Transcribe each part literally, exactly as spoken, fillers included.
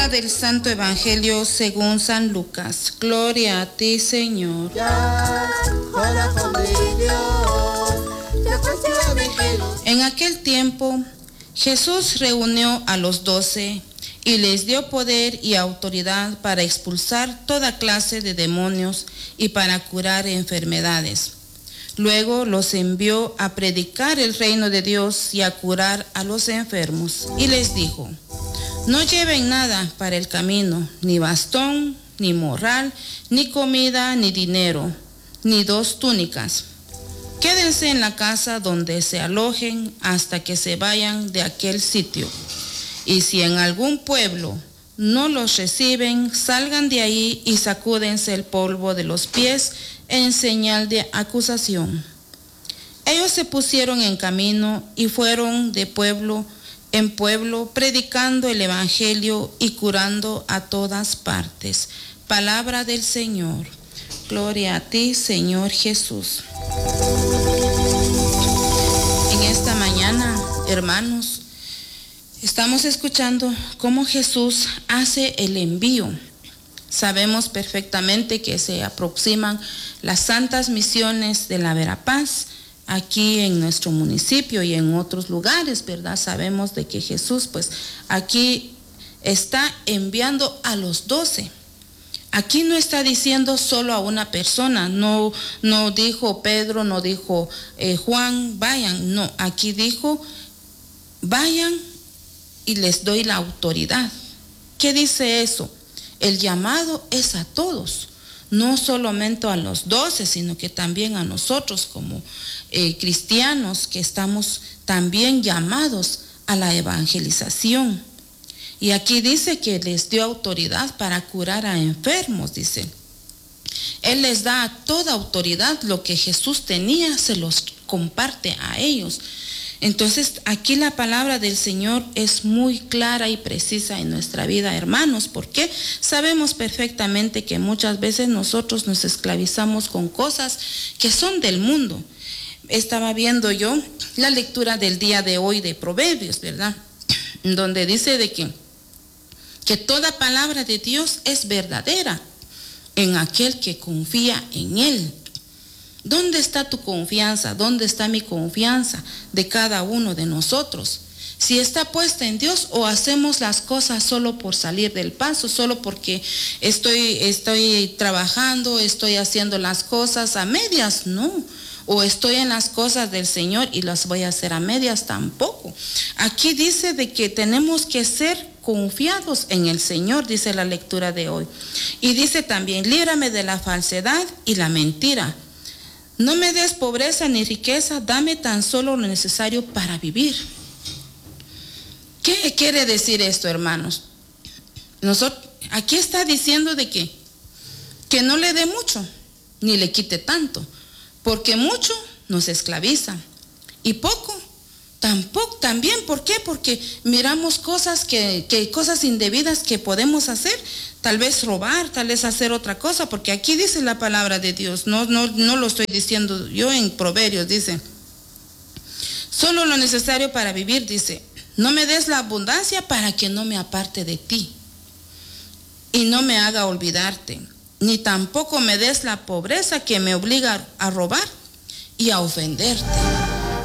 Lectura del Santo Evangelio según San Lucas. Gloria a ti, Señor. En aquel tiempo, Jesús reunió a los doce y les dio poder y autoridad para expulsar toda clase de demonios y para curar enfermedades. Luego los envió a predicar el reino de Dios y a curar a los enfermos. Y les dijo: no lleven nada para el camino, ni bastón, ni morral, ni comida, ni dinero, ni dos túnicas. Quédense en la casa donde se alojen hasta que se vayan de aquel sitio. Y si en algún pueblo no los reciben, salgan de ahí y sacúdense el polvo de los pies en señal de acusación. Ellos se pusieron en camino y fueron de pueblo en pueblo, predicando el evangelio y curando a todas partes. Palabra del Señor. Gloria a ti, Señor Jesús. En esta mañana, hermanos, estamos escuchando cómo Jesús hace el envío. Sabemos perfectamente que se aproximan las santas misiones de la Verapaz aquí en nuestro municipio y en otros lugares, ¿verdad? Sabemos de que Jesús, pues, aquí está enviando a los doce. Aquí no está diciendo solo a una persona, no, no dijo Pedro, no dijo eh, Juan, vayan, no, aquí dijo, vayan y les doy la autoridad. ¿Qué dice eso? El llamado es a todos, no solamente a los doce, sino que también a nosotros como eh, cristianos que estamos también llamados a la evangelización. Y aquí dice que les dio autoridad para curar a enfermos, dice. Él les da toda autoridad, lo que Jesús tenía se los comparte a ellos. Entonces aquí la palabra del Señor es muy clara y precisa en nuestra vida, hermanos, porque sabemos perfectamente que muchas veces nosotros nos esclavizamos con cosas que son del mundo. Estaba viendo yo la lectura del día de hoy de Proverbios, ¿verdad? Donde dice de que, que toda palabra de Dios es verdadera en aquel que confía en Él. ¿Dónde está tu confianza? ¿Dónde está mi confianza de cada uno de nosotros? Si está puesta en Dios o hacemos las cosas solo por salir del paso, solo porque estoy, estoy trabajando, estoy haciendo las cosas a medias, no. O estoy en las cosas del Señor y las voy a hacer a medias, tampoco. Aquí dice de que tenemos que ser confiados en el Señor, dice la lectura de hoy. Y dice también, líbrame de la falsedad y la mentira. No me des pobreza ni riqueza, dame tan solo lo necesario para vivir. ¿Qué quiere decir esto, hermanos? Nosotros, aquí está diciendo de que, que no le dé mucho, ni le quite tanto, porque mucho nos esclaviza y poco tampoco también. ¿Por qué? Porque miramos cosas que, que cosas indebidas que podemos hacer, tal vez robar, tal vez hacer otra cosa, porque aquí dice la palabra de Dios, no, no, no lo estoy diciendo yo en Proverbios, dice, solo lo necesario para vivir, dice, no me des la abundancia para que no me aparte de ti y no me haga olvidarte, ni tampoco me des la pobreza que me obliga a robar y a ofenderte.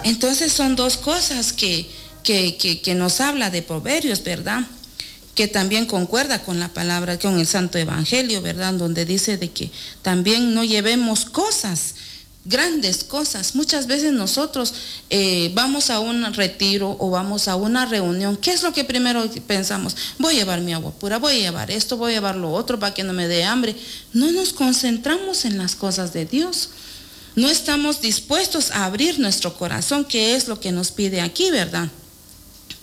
Entonces son dos cosas que, que, que, que nos habla de Proverbios, ¿verdad? Que también concuerda con la palabra, con el Santo Evangelio, ¿verdad? Donde dice de que también no llevemos cosas, grandes cosas. Muchas veces nosotros eh, vamos a un retiro o vamos a una reunión. ¿Qué es lo que primero pensamos? Voy a llevar mi agua pura, voy a llevar esto, voy a llevar lo otro para que no me dé hambre. No nos concentramos en las cosas de Dios. No estamos dispuestos a abrir nuestro corazón, que es lo que nos pide aquí, ¿verdad?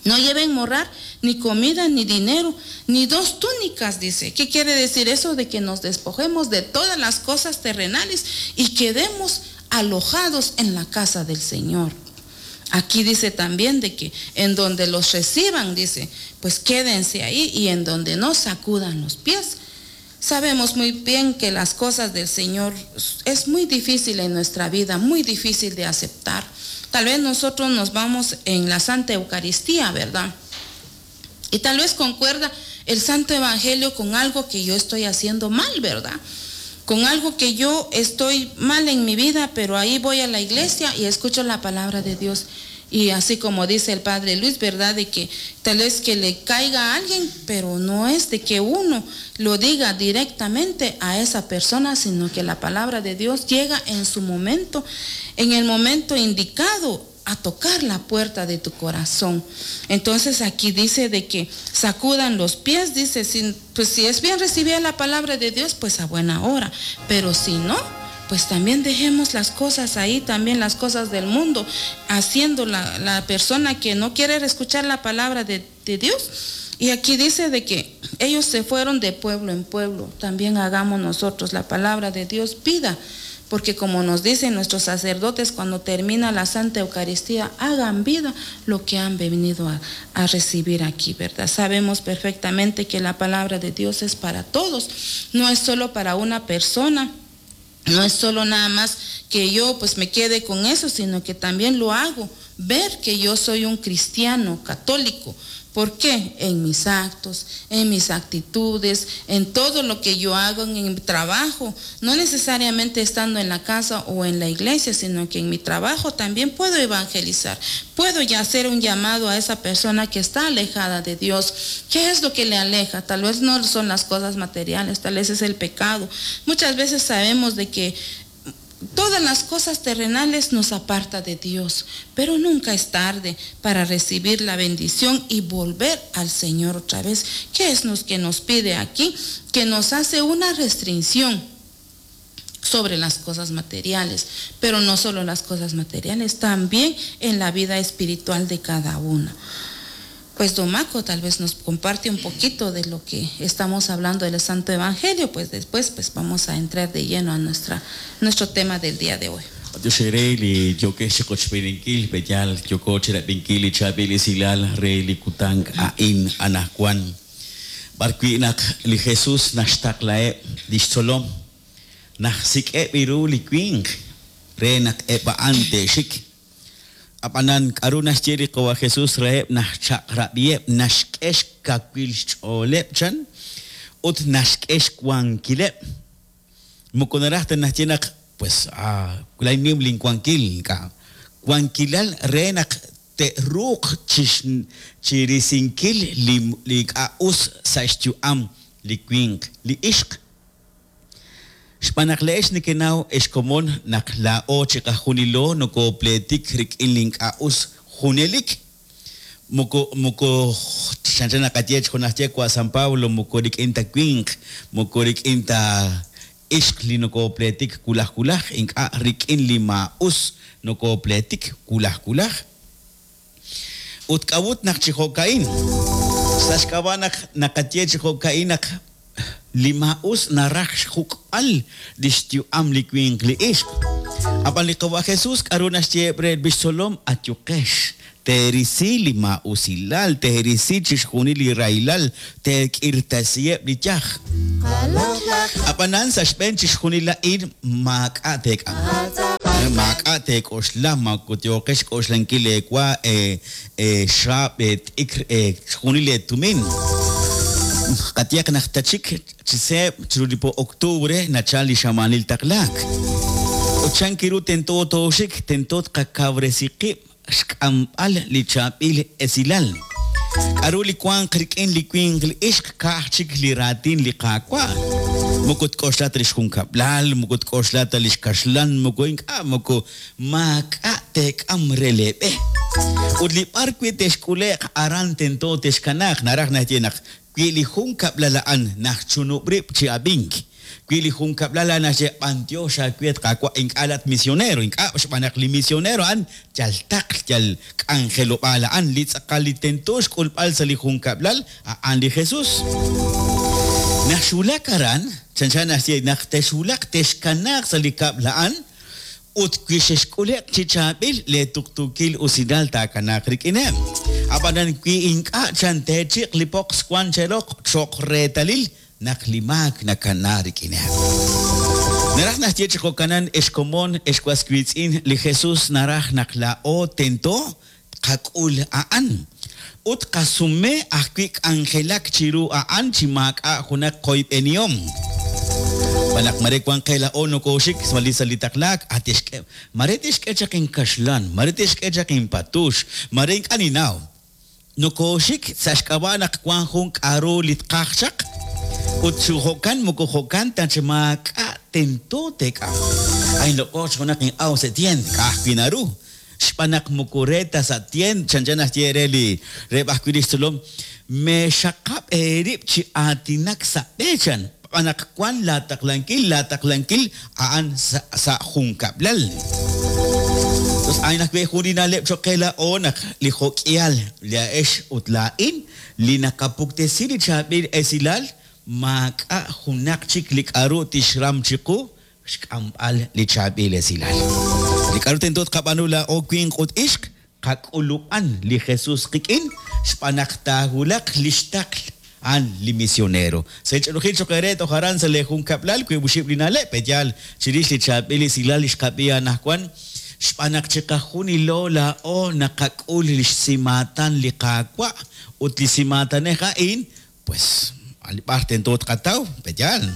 No lleven morral, ni comida, ni dinero, ni dos túnicas, dice. ¿Qué quiere decir eso? De que nos despojemos de todas las cosas terrenales y quedemos alojados en la casa del Señor. Aquí dice también de que en donde los reciban, dice, pues quédense ahí, y en donde no, sacudan los pies. Sabemos muy bien que las cosas del Señor es muy difícil en nuestra vida, muy difícil de aceptar. Tal vez nosotros nos vamos en la Santa Eucaristía, ¿verdad? Y tal vez concuerda el Santo Evangelio con algo que yo estoy haciendo mal, ¿verdad? Con algo que yo estoy mal en mi vida, pero ahí voy a la iglesia y escucho la palabra de Dios. Y así como dice el Padre Luis, ¿verdad? De que tal vez que le caiga a alguien, pero no es de que uno lo diga directamente a esa persona, sino que la palabra de Dios llega en su momento, en el momento indicado, a tocar la puerta de tu corazón. Entonces aquí dice de que sacudan los pies, dice, si, pues si es bien recibida la palabra de Dios, pues a buena hora, pero si no, pues también dejemos las cosas ahí, también las cosas del mundo, haciendo la, la persona que no quiere escuchar la palabra de, de Dios. Y aquí dice de que ellos se fueron de pueblo en pueblo, también hagamos nosotros la palabra de Dios vida, porque como nos dicen nuestros sacerdotes cuando termina la Santa Eucaristía, hagan vida lo que han venido a, a recibir aquí, ¿verdad? Sabemos perfectamente que la palabra de Dios es para todos, no es solo para una persona, no es solo nada más que yo pues me quede con eso, sino que también lo hago ver que yo soy un cristiano católico. ¿Por qué? En mis actos, en mis actitudes, en todo lo que yo hago en mi trabajo, no necesariamente estando en la casa o en la iglesia, sino que en mi trabajo también puedo evangelizar, puedo ya hacer un llamado a esa persona que está alejada de Dios. ¿Qué es lo que le aleja? Tal vez no son las cosas materiales, tal vez es el pecado. Muchas veces sabemos de que todas las cosas terrenales nos aparta de Dios, pero nunca es tarde para recibir la bendición y volver al Señor otra vez. ¿Qué es lo que nos pide aquí? Que nos hace una restricción sobre las cosas materiales, pero no solo las cosas materiales, también en la vida espiritual de cada uno. Pues don Maco tal vez nos comparte un poquito de lo que estamos hablando del Santo Evangelio, pues después pues vamos a entrar de lleno a nuestra, nuestro tema del día de hoy. Apanan k'aru naxye li Qawa Jesus reheb naxchaq'rab'iheb naxk'e xkawil xch'ooleb chan ut naxk'e xwankileb moko naraj ta naxye naq pues ah lay nim linwankil ka wankilal re naq te'ruuq chirisinkil li li k'a'us sa' xyu'am li winq li ixq. Xb'aan naq le'ex nekenaw ex komon naq laa'o chiqajunilo nokopletik rik'in link'a'us junelik moko moko chanchan naqaye xjonajye kwa San Pablo moko rik'in ta winq moko rik'in ta ixq li nokopletik kulaj kulaj ink'a' rik'in li ma'us nokopletik kulaj kulaj ut k'awut naq chi jo'ka'in sa' xk'ab'a naq naqaye chi jo'ka'in naq li ma'us naraj xjuk'al li xyu'am li winq li ixq. Ab'an li Qawa Jesus k'aru naxye re bixtzolom atyuqex teerisi li ma'usilal teerisi chixjunil li rahilal teek'irtasiheb' li yaj. Ab'anan sa' xb'een chixjunil a'in maak'a' teek'am. Maak'a' teek'oxla makutyoqex k'oxlankil eewa xaab' t'ikr xjunil eetumin. Qatiaq naq tachik chiseb chiru li po octubre nachal li xamanil taqlaak. Ut chan kiru tento tooxik tento tqakawresi qib' xk'amb'al li chaab'il esilal. K'aru li wanq rik'in li winq li ixq ka'aj chik li raatin li qaawa'. Moko tk'oxla ta li xjunkab'lal, moko tk'oxla ta li xkaxlan, moko ink'a' moko maak'a' teek'am re leeb'e. Ut li b'ar wi' texk'ule'q aran tento texkanaaq naraj naxye naq wi li junkab'lal a'an najchunub' rib' chi ab'ink. Wi li junkab'lal a'an naxye b'antiox aawet qaawa' ink'a' lat misionero, ink'a' xb'aan naq li misionero a'an yal taql yal k'anjelob'aal a'an li tz'aqal li tento xk'ulb'al sa' li junkab'lal a'an li Jesus. Naxwulak aran, chanchan naxye naq texwulaq texkanaaq sa' li kab'l a'an ut wi xexk'ule'q chi chaab'il le tuqtuukil usilal taakanaaq rik'ineb'. Ab'anan wi ink'a' chan teechiq li poqs wan cheroq cho'q reetalil naq li maak nakana rik'ineb'. Naraj naxye chi jo'kanan ex komon ex was wiitz'in li Jesus naraj naq laa'o tento tqak'ul a'an. Ut qasume ajwi' k'anjelak chiru a'an chi maak'a' junaq qoyb'enihom. Xb'aan naq mare wan qe laa'o nokooxik sa' li sa' li taqlaak, a tixk'e mare tixk'e chaq inkaxlan, mare tixk'e chaq inpatux, mare ink'a' ninnaw. Nokooxik sa' xk'ab'a' naq wan jun k'a'ru li tqaj chaq ut chi jo'kan moko jo'kan ta chi maak'a' tento teek'am. Ay loq'oq junaq in'aw sa' tieend ka'ajwi' naru. Xb'aan naq moko re ta sa' tieend chanchan naxye re li reheb' ajwi' li xtzolom meexaqab' eerib' chi aatinak sa' b'e chan xb'aan naq wan laataqlankil laataqlankil a'an sa' sa' junkab'lal. Tos a'in ajwi' jun li na'leb' cho'q qe laa'o naq li jo'k'ihal laa'ex ut laa'in li naqapuktesi li chaab'il esilal maak'a' junaq chik li k'a'ru tixram chiqu xk'amb'al li chaab'il esilal. Li k'a'ru tento tqab'aanu laa'o winq ut ixq qak'ulub'an li Jesus qik'in xb'aan naq taawulaq li xtaql a'an li misionero. Sa' ch'olojil cho'q eere toj aran sa' le junkab'lal wiib' oxib' li na'leb' pe'yaal chirix li chaab'il esilal li xqab'i anaqwan xb'aan naq chiqajunilo laa'o naqak'ul li xsimaatan li Qaawa' ut li simaatanej a'in pues b'ar tento tqataw pe'yaal.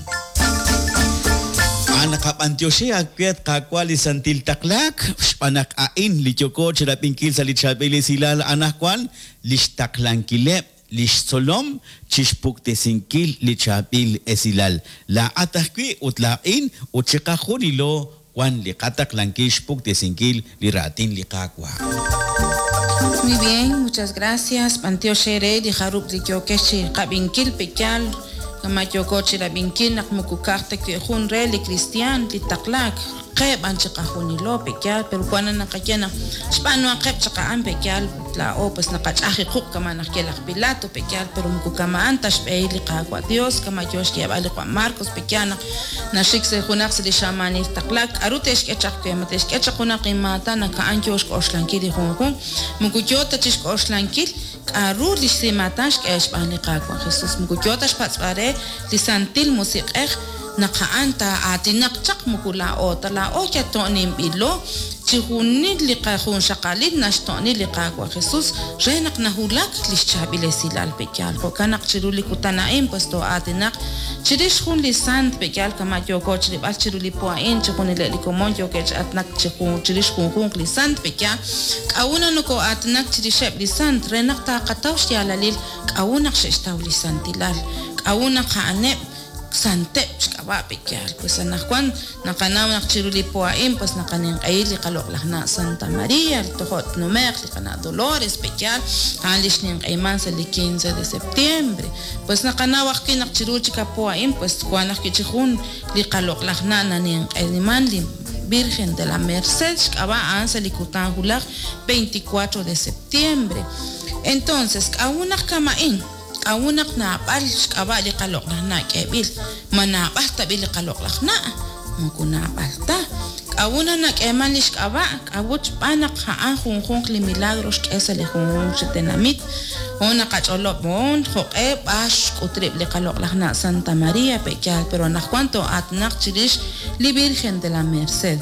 Naqab'antioxi ajwi' Qaawa' li santil taqlaak xb'aan naq a'in li yooko chirab'inkil sa' li chaab'il esilal anaqwan li xtaqlankileb' li xtzolom chixpuktesinkil li chaab'il esilal. Laa'at ajwi' ut laa'in ut chiqajunilo wan li qataqlankil xpuktesinkil li raatin li Qaawa'. Muy bien, muchas gracias. B'antioxi re li jarub' li yookex chi qab'inkil pe'yaal kama yooko chirab'inkil naq moko ka'aj ta wi' jun re li cristian li taqlaak qe b'an chiqajunilo pe'yaal pero wan naqaye naq xb'aanuhaqeb' chaq a'an pe'yaal laa'o pues naqach'aj iquq' kama naq ye laj Pilato pe'yaal pero moko kama'an ta xb'ehil li Qaawa' Dios kama yo xyeeb'al li Juan Marcos pe'yaal naq naxik sa' junaq sa' li xamaanil taqlaak k'a'ru te'xk'e chaq we ma te'xk'e chaq junaq inmaatan naq a'an yo xk'oxlankil li junjunq moko yo ta chixk'oxlankil k'a'ru li xsimaatan xk'e xb'aan li Qaawa' Jesus moko yo ta xpatz'b'al re li santil musiq'ej naq a'an taa'aatinaq chaq moko laa'o ta laa'o yato'ninb'ilo chi junil li qajunxaqalil naxto'ni li Qaawa' Jesus re naq nahulak li xchaab'il esilal pe'yaal jo'kan naq chiru li kutan a'in pues too'aatinaq chirix jun li sant pe'yaal kama yooko chirib'al chiru li po a'in chi junileb' li komon yookeb' chi aatinak chi jun chirix junjunq li sant pe'yaal k'a'u na nokoo'aatinak chirixeb' li sant re naq taaqataw xyaalalil k'a'u naq xe'xtaw li santilal k'a'u naq a'aneb' santeb' xk'ab'a' pe'yaal pues anaqwan naqanaw naq chiru li po a'in pues naqaninq'ehil li qaloq'laj na' Santa María tojo' tnume'q li qana' Dolores pe'yaal a'an li xninq'ehiman sa' li quince de septiembre pues naqanaw ajwi' naq chiru chik a po a'in pues wan ajwi' chi jun li qaloq'laj na' naninq'ehiman li Virgen de la Merced xk'ab'a' a'an sa' li kutan hulaj veinticuatro de septiembre. Entonces k'a'u naq kama'in k'a'u naq naab'al xk'ab'a' li qaloq'laj na' k'eeb'il ma naab'al tab'i li qaloq'laj na' moko naab'al ta k'a'u na nak'eeman li xk'ab'a' k'a'u xb'aan naq a'an junjunq li milagro xk'e sa' li junjunq chi tenamit jun naqach'olob' jun jo'q'e b'ax xk'utrib' li qaloq'laj na' Santa María pe'yaal pero anaqwan too'aatinaq chirix li Virgen de la Merced.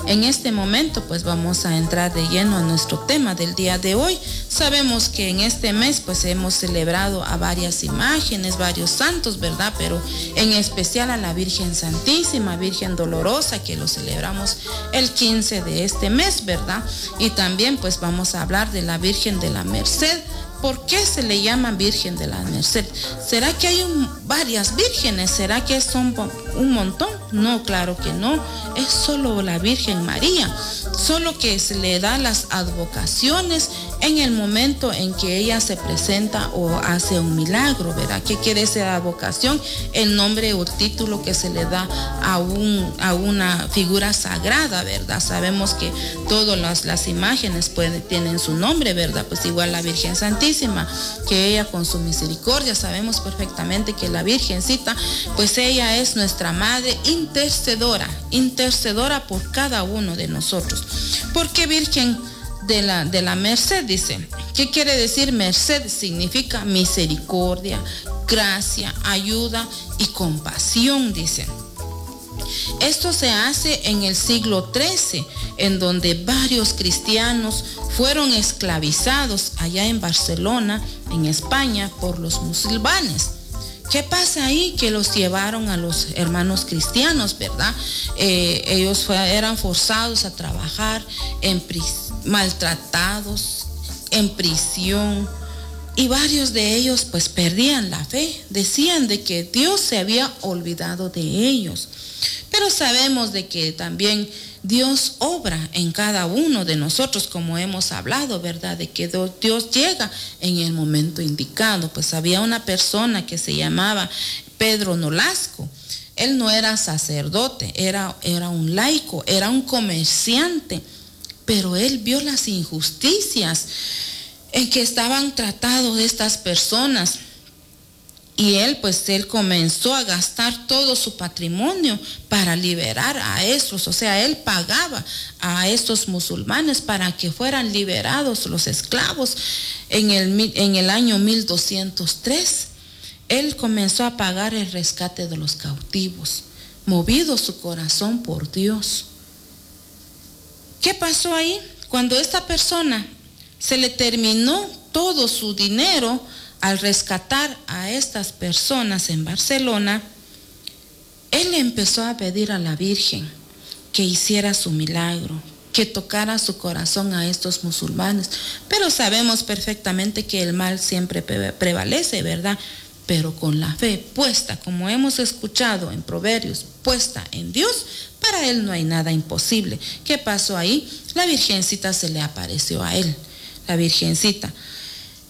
En este momento pues vamos a entrar de lleno a nuestro tema del día de hoy. Sabemos que en este mes pues hemos celebrado a varias imágenes, varios santos, ¿verdad? Pero en especial a la Virgen Santísima, Virgen Dolorosa, que lo celebramos el quince de este mes, ¿verdad? Y también pues vamos a hablar de la Virgen de la Merced. ¿Por qué se le llama Virgen de la Merced? ¿Será que hay un, varias vírgenes? ¿Será que son un montón? No, claro que no. Es solo la Virgen María. Solo que se le da las advocaciones en el momento en que ella se presenta o hace un milagro, ¿verdad? ¿Qué quiere decir advocación? El nombre o título que se le da a, un, a una figura sagrada, ¿verdad? Sabemos que todas las, las imágenes pueden, tienen su nombre, ¿verdad? Pues igual la Virgen Santísima, que ella con su misericordia, sabemos perfectamente que la Virgencita, pues ella es nuestra madre intercedora, intercedora por cada uno de nosotros. ¿Por qué Virgen de la, de la Merced? Dice, ¿qué quiere decir merced? Significa misericordia, gracia, ayuda y compasión, dice. Esto se hace en el siglo trece, en donde varios cristianos fueron esclavizados allá en Barcelona, en España, por los musulmanes. ¿Qué pasa ahí? Que los llevaron a los hermanos cristianos, ¿verdad? Eh, ellos fue, eran forzados a trabajar, en maltratados, en prisión. Y varios de ellos pues perdían la fe, decían de que Dios se había olvidado de ellos. Pero sabemos de que también Dios obra en cada uno de nosotros, como hemos hablado, ¿verdad? De que Dios llega en el momento indicado. Pues había una persona que se llamaba Pedro Nolasco. Él no era sacerdote, era, era un laico, era un comerciante, pero él vio las injusticias en que estaban tratados estas personas. Y él, pues, él comenzó a gastar todo su patrimonio para liberar a estos. O sea, él pagaba a estos musulmanes para que fueran liberados los esclavos. En el, en el año mil doscientos tres, él comenzó a pagar el rescate de los cautivos, movido su corazón por Dios. ¿Qué pasó ahí? Cuando esta persona se le terminó todo su dinero al rescatar a estas personas en Barcelona, él empezó a pedir a la Virgen que hiciera su milagro, que tocara su corazón a estos musulmanes. Pero sabemos perfectamente que el mal siempre prevalece, ¿verdad? Pero con la fe puesta, como hemos escuchado en Proverbios, puesta en Dios, para él no hay nada imposible. ¿Qué pasó ahí? La Virgencita se le apareció a él, la Virgencita.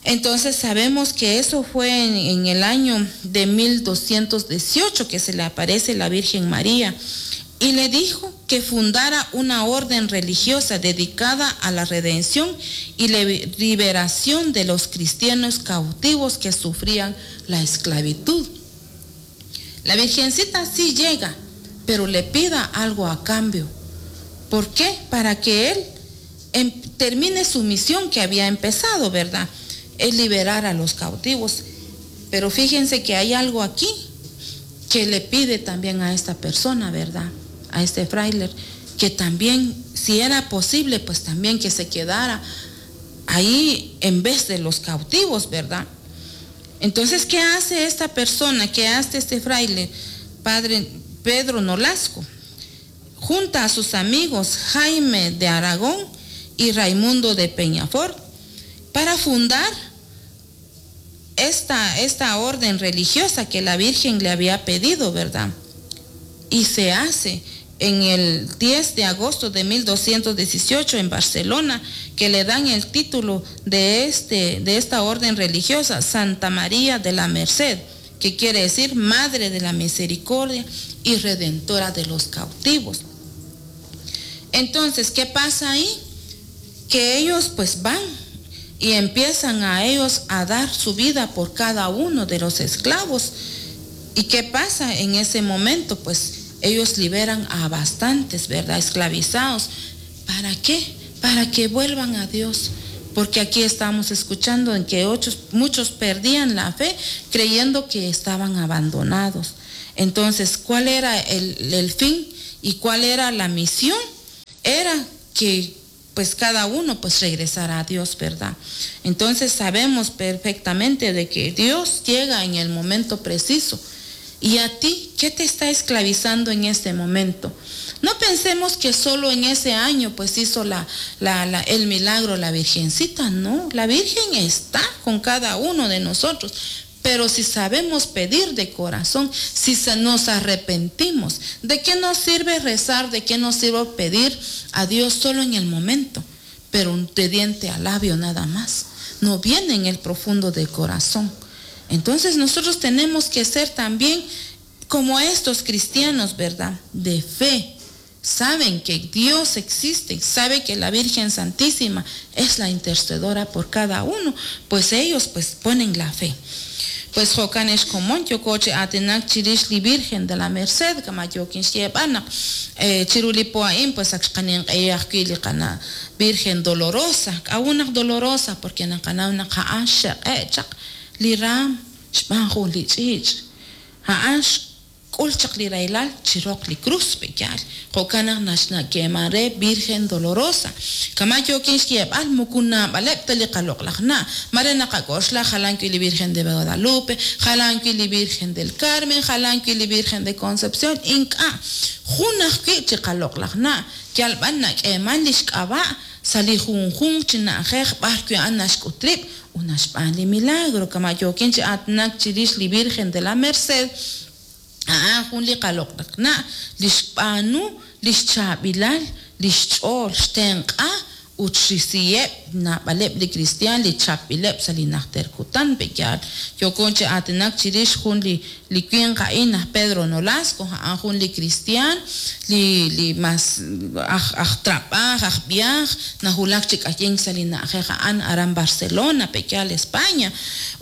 Entonces sabemos que eso fue en, en el año de mil doscientos dieciocho que se le aparece la Virgen María y le dijo que fundara una orden religiosa dedicada a la redención y liberación de los cristianos cautivos que sufrían la esclavitud. La Virgencita sí llega, pero le pida algo a cambio. ¿Por qué? Para que él em, termine su misión que había empezado, ¿verdad? Es liberar a los cautivos. Pero fíjense que hay algo aquí que le pide también a esta persona, ¿verdad? A este fraile, que también, si era posible, pues también que se quedara ahí en vez de los cautivos, ¿verdad? Entonces, ¿qué hace esta persona? ¿Qué hace este fraile? Padre Pedro Nolasco junta a sus amigos Jaime de Aragón y Raimundo de Peñafort para fundar esta, esta orden religiosa que la Virgen le había pedido, ¿verdad? Y se hace en el diez de agosto de mil doscientos dieciocho en Barcelona, que le dan el título de, este, de esta orden religiosa, Santa María de la Merced, que quiere decir Madre de la Misericordia y Redentora de los cautivos. Entonces, ¿qué pasa ahí? Que ellos pues van y empiezan a ellos a dar su vida por cada uno de los esclavos. ¿Y qué pasa en ese momento? Pues ellos liberan a bastantes, ¿verdad? Esclavizados. ¿Para qué? Para que vuelvan a Dios. Porque aquí estamos escuchando en que ocho, muchos perdían la fe creyendo que estaban abandonados. Entonces, ¿cuál era el, el fin y cuál era la misión? Era que pues cada uno pues regresara a Dios, ¿verdad? Entonces sabemos perfectamente de que Dios llega en el momento preciso. ¿Y a ti qué te está esclavizando en este momento? No pensemos que solo en ese año pues hizo la, la, la, el milagro la Virgencita. No, la Virgen está con cada uno de nosotros. Pero si sabemos pedir de corazón, si nos arrepentimos, ¿de qué nos sirve rezar? ¿De qué nos sirve pedir a Dios solo en el momento? Pero de diente a labio nada más. No viene en el profundo del corazón. Entonces nosotros tenemos que ser también como estos cristianos, ¿verdad? De fe. Saben que Dios existe, saben que la Virgen Santísima es la intercedora por cada uno. Pues ellos pues ponen la fe. Pues jokanesh komon yokoche atenak chirishli Virgen de la Merced kama yokin xyebana chiruli poaim pues axqanin q'eyaqkili qana Virgen dolorosa k'awunaq dolorosa porque naqanawna qa'an xeq'echaq li ram xb'an jun li ch'ich' ja'an K'ul chaq li rahilal chi roq li krus pe'yaal jo'kan naq naxyeeman re Virgen Dolorosa. Kama' yookin xyeeb'al moko naab'aleb' ta li qaloq'laj na', mare naqak'oxla jalan wi' li Virgen de Guadalupe, jalan wi' li Virgen del Carmen, jalan wi' li Virgen de Concepción, ink'a' jun ajwi' chi qaloq'laj na', yal b'an nak'eeman li xk'ab'a' sa' li junjunq chi na'ajej b'ar wi' a'an naxk'ut rib' ut naxb'aan li milagro. Kama' yookin chi aatinak chirix li Virgen de la Merced, a'an jun li qaloq'laj na' li xb'aanu li xchaab'ilal li xch'ool xtenq'a ut xrisiheb' naab'aleb' li kristiaan li chapb'ileb' sa' li najter kutan pe'yaal. Yooko chi aatinak chirix jun li li winq a'in aj Pedro Nolasco, a'an jun li kristiaan li li mas aj aj trab'aaj aj b'ihaaj nawulak chi k'ayink sa' li na'ajej a'an aran Barcelona pe'yaal España.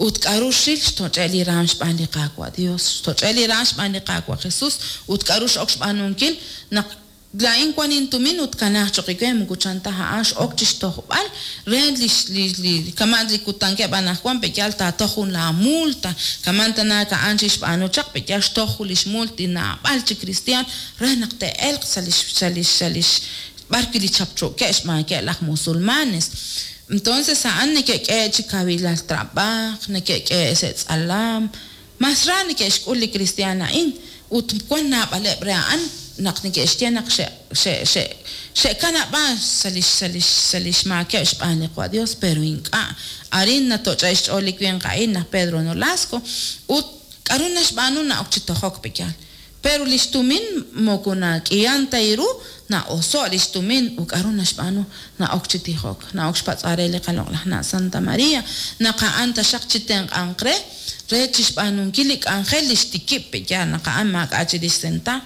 Ut k'aru xril xtoch'e' li raam xb'aan li Qaawa' Dios, xtoch'e' li raam xb'aan li Qaawa' Jesus ut k'aru x'ok xb'aanunkil naq laa'in wan intumin ut kanaaq choq' we moko chan ta a'an x'ok chi xtojb'al re li li li kama' li kutankeb' anaqwan pe'yaal taatoj jun la multa kama' tanaak a'an chixb'aanu chaq pe'yaal xtoj jun lix mult li naab'al chi kristiaan re naq te'elq sa' lix sa' lix sa' lix b'ar wi' li chapcho'keb' xb'aankeb' laj musulmanes. Entonces a'an neke'k'e chi kawilal trab'aaj, neke'k'e sa' tz'alam, mas ra neke'xk'ul li kristiaan a'in ut wan naab'aleb' re a'an naq neke'xye naq xe' xe' xe' xe'kanab'an sa' lix sa' lix sa' lix maakeb' xb'aan li Qaawa' Dios, pero ink'a' arin natoch'e' xch'ool li winq a'in laj Pedro Nolasco ut k'aru naxb'aanu na'ok chi tojok pe'yaal. Pero lix tumin moko nak'ihan ta ru na'oso' lix tumin ut k'aru naxb'aanu na'ok chi tijok, na'ok xpatz'b'al re li qaloq'laj na' Santa María naq a'an taxaq chi tenq'anq re re chixb'aanunkil li k'anjel li xtikib' pe'yaal naq a'an maak'a' chirix senta.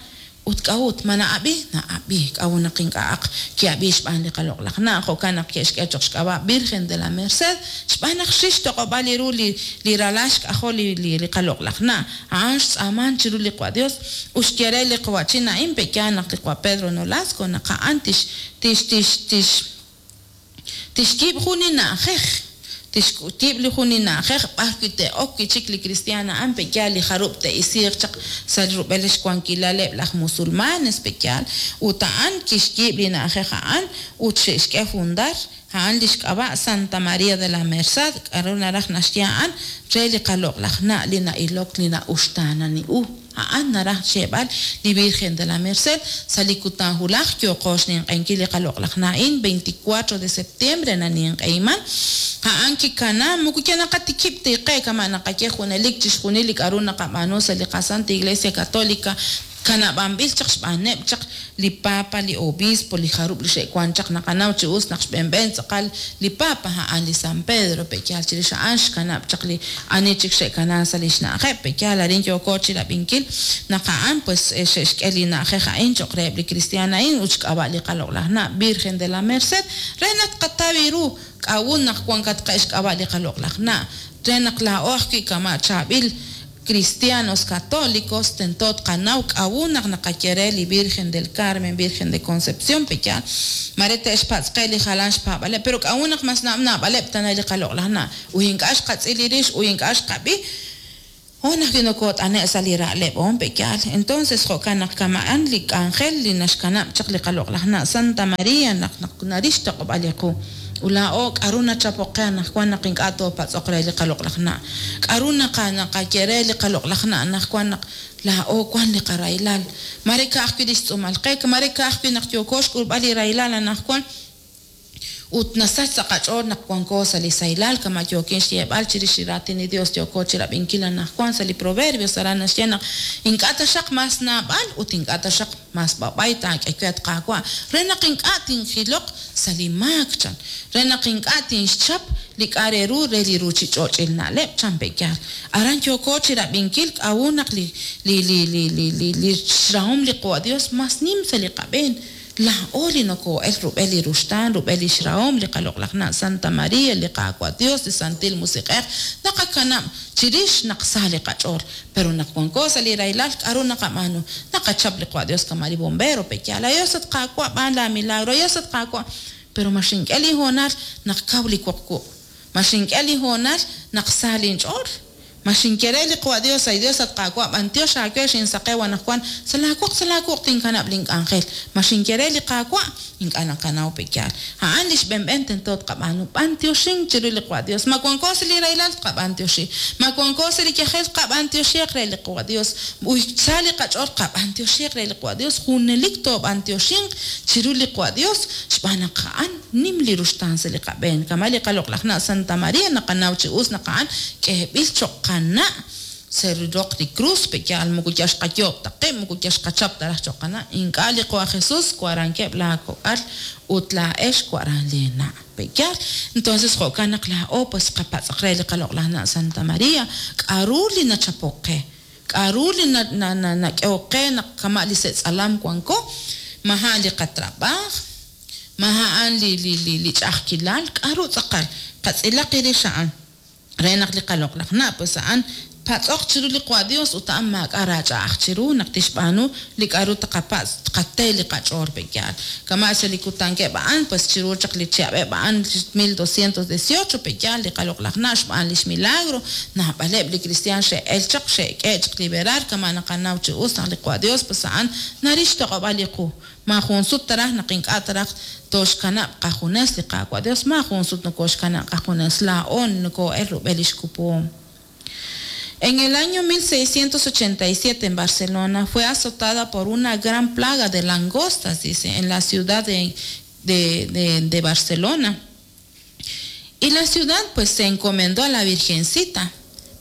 Ut k'a'ut ma na'ab'i na'ab'i k'a'ut naq ink'a'aq ki'ab'i xb'aan li qaloq'laj na' jo'kan naq ke'xk'e choq' xk'ab'a' Virgen de la Merced xb'aan naq xril xtoq'ob'al li ru li li ralal xk'ajol li li li qaloq'laj na' a'an xtz'aaman chiru li Qaawa' Dios ut xye re li qawa'chin a'in pe'yaal naq li Qaawa' Pedro Nolasco naq a'an tix tix tix tix tixyiib' jun li na'ajej tixyiib' li jun li na'ajej b'ar wi' te'ok wi' chik li kristiaan a'an pe'yaal li jarub' te'isiiq chaq sa' rub'el xwankilaleb' laj musulmanes pe'yaal ut a'an kixyiib' li na'ajej a'an ut xe'xk'e fundar a'an li xk'ab'a' Santa María de la Merced k'aru naraj naxye a'an re li qaloq'laj na' li na'ilok li na'uxtaanani u a'an naraj xyeeb'al li Virgen de la Merced sa' li kutan wulaj yooqo xninq'enkil li qaloq'laj na'in veinticuatro de septiembre naninq'ehiman a'an kikana moko yal naqatikib' tiqe kama' naqaye junelik chixjunil li k'aru naqab'aanu sa' li qaSanta Iglesia Católica kanab'anb'il chaq xb'aaneb' chaq li papa, li obispo, li jarub' li xe'wan chaq naqanaw chi us naq xb'enb'en tz'aqal li papa a'an li San Pedro pe'yaal chirix a'an xkanab' chaq li ani chik xe'kana sa' li xna'ajeb' pe'yaal arin yooko chirab'inkil naq a'an pues xe'xk'e li na'ajej a'in cho'q reheb' li kristiaan a'in ut xk'ab'a' li qaloq'laj na' Virgen de la Merced re naq tqataw ru k'a'ut naq wankatqe' xk'ab'a' li qaloq'laj na' re naq laa'o ajwi' kama' chaab'il cristianos católicos tento tqanaw k'a'ut naq naqaye re li Virgen del Carmen, Virgen de Concepción pe'yaal mare te'xpatz'qe li jalan xpaab'aleb' pero k'a'ut naq mas naab'aleb' tana li qaloq'laj na' ut ink'a' xqatz'il li rix ut ink'a' xqab'i on ajwi' nokot'ane' sa' li ra'leb' on pe'yaal. Entonces jo'kan naq kama'an li k'anjel li naxkanab' chaq li qaloq'laj na' Santa María naq naq narix toq'ob'al li qu Ulaa'o k'aru nachapoq qe anaqwan naq ink'a' toopatz'oq re li qaloq'laj na' k'aru naqa naqaye re li qaloq'laj na' anaqwan naq laa'o wan li qarahilal mare ka'ajwi' li xtz'uumal qe mare ka'ajwi' naq yooko xk'ulb'al li rahilal anaqwan ut nasach sa' qach'ool naq wanko sa' li sahilal kama' yookin xyeeb'al chirix li raatin li Dios yooko chirab'inkil anaqwan sa' li Proverbios aran naxye naq ink'a' taxaq mas naab'al ut ink'a' taxaq mas b'ab'ay taak'e we at Qaawa' re naq ink'a' tinjiloq sa' li maak chan re naq ink'a' tinxchap li k'a' re ru re li ruuchich'och'il na'leb' chan pe'yaal aran yooko chirab'inkil k'a'ut naq li li li li li li li xrahom li Qaawa' Dios mas nim sa' li qab'een laa'o li noko'el rub'el li ruxtaan rub'el li xrahom li qaloq'laj na' Santa María li Qaawa' Dios li Santil Musiq'ej naqakanab' chirix naq sa li qach'ool pero naq wanko sa' li rahilal k'aru naqab'aanu naqachap li Qaawa' Dios kama' li bombero pe'yaal Dios at Qaawa' b'aan la milagro Dios at Qaawa' pero ma xink'e li hoonal naq kaw li woq wuq' ma xink'e li hoonal naq sa linch'ool Ma xinye re li Qawa' Dios, ay Dios, at Qaawa', b'antiox aawe xinsaqew anaqwan, sa' laawoq, sa' laawuq' tinkanab' link'anjel. Ma xinye re li Qaawa', ink'a' naqanaw pe yaal. A'an li xb'enb'en tento tqab'aanu, b'antioxink chiru li Qawa' Dios. Ma wanko sa' li rahilal tqab'antioxi, ma wanko sa' li yajel tqab'antioxiiq re li Qawa' Dios. Uy sa li qach'ool qab'antioxiiq re li Qawa' Dios, junelik toob'antioxinq chiru li Qawa' Dios, xb'aan naq a'an nim li ruxtaan sa' li qab'een. Kama' li qaloq'laj na' Santa María naqanaw chi us naq a'an k'ehb'il cho'q qana' sa' roq li cruz pe yaal moko yal xqayoob' ta qib', moko yal xqachap ta raj cho'q qana'. Ink'a' li Qawa' Jesús warankeb' laakok'al ut laa'ex waran leena' pe yaal. Entonces jo'kan naq laa'o pues qapatz'aq re li qaloq'laj na' Santa María, k'a'ru li nachapok qe, k'a'ru li nak'ehok qe naq kama' li se'tz'alam wanko, maja' li qatrab'aaj, maja' a'an li li li li ch'a'ajkilal, k'a'ru tz'aqal qatz'ilaq irix a'an re naq li qaloq'laj na' pues a'an patz'oq chiru li Qawa' Dios ut a'an maak'a' raach'a'aj chiru naq tixb'aanu li k'a'ru taqapatz' tqate li qach'ool pe yaal. Kama' sa' li kutankeb' a'an pues chiru chaq li chihab'eb' a'an mil doscientos dieciocho pe yaal li qaloq'laj na' xb'aan lix milagro naab'aleb' li cristian xe'el chaq xe'k'e chaq liberar kama' naqanaw chi us naq li Qawa' Dios pues a'an naril xtoq'ob'al li qu. Ma jun sut taraj naq ink'a' taraj toxkanab' qajunes li Qaawa' Dios, ma jun sut nokoxkanab' qajunes laa'o noko'el rub'el lix kupuhom. En el año mil seiscientos ochenta y siete en Barcelona fue azotada por una gran plaga de langostas, dice, en la ciudad de, de, de, de Barcelona. Y la ciudad pues se encomendó a la Virgencita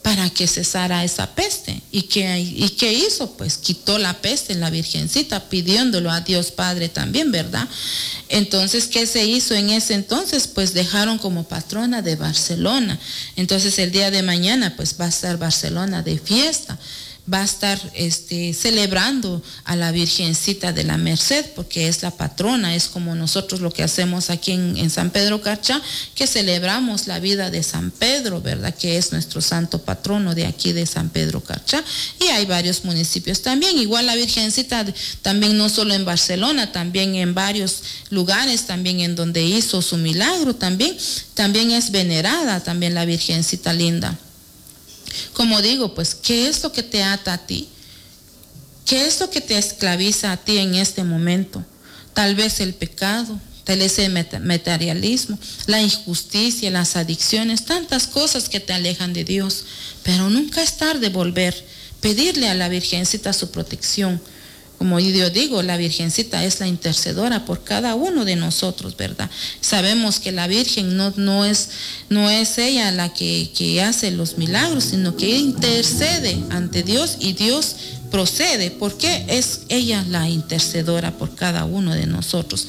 para que cesara esa peste. ¿Y qué, y qué hizo? Pues quitó la peste en la Virgencita, pidiéndolo a Dios Padre también, ¿verdad? Entonces, ¿qué se hizo en ese entonces? Pues dejaron como patrona de Barcelona. Entonces, el día de mañana, pues va a estar Barcelona de fiesta. Va a estar este, celebrando a la Virgencita de la Merced, porque es la patrona, es como nosotros lo que hacemos aquí en, en San Pedro Carchá, que celebramos la vida de San Pedro, ¿verdad? Que es nuestro santo patrono de aquí de San Pedro Carchá. Y hay varios municipios también, igual la Virgencita también no solo en Barcelona, también en varios lugares, también en donde hizo su milagro también, también es venerada también la Virgencita linda. Como digo, pues, ¿qué es lo que te ata a ti? ¿Qué es lo que te esclaviza a ti en este momento? Tal vez el pecado, tal vez el materialismo, la injusticia, las adicciones, tantas cosas que te alejan de Dios. Pero nunca es tarde volver, pedirle a la Virgencita su protección. Como yo digo, la Virgencita es la intercedora por cada uno de nosotros, ¿verdad? Sabemos que la Virgen no, no, es, no es ella la que, que hace los milagros, sino que intercede ante Dios y Dios procede, porque es ella la intercedora por cada uno de nosotros.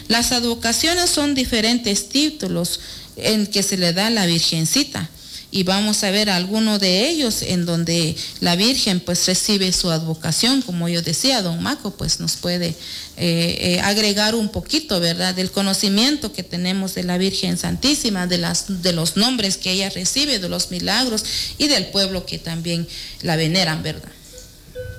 Las advocaciones son diferentes títulos en que se le da a la Virgencita. Y vamos a ver alguno de ellos en donde la Virgen pues recibe su advocación, como yo decía, don Maco pues nos puede eh, eh, agregar un poquito, ¿verdad?, del conocimiento que tenemos de la Virgen Santísima, de, las, de los nombres que ella recibe, de los milagros y del pueblo que también la veneran, ¿verdad?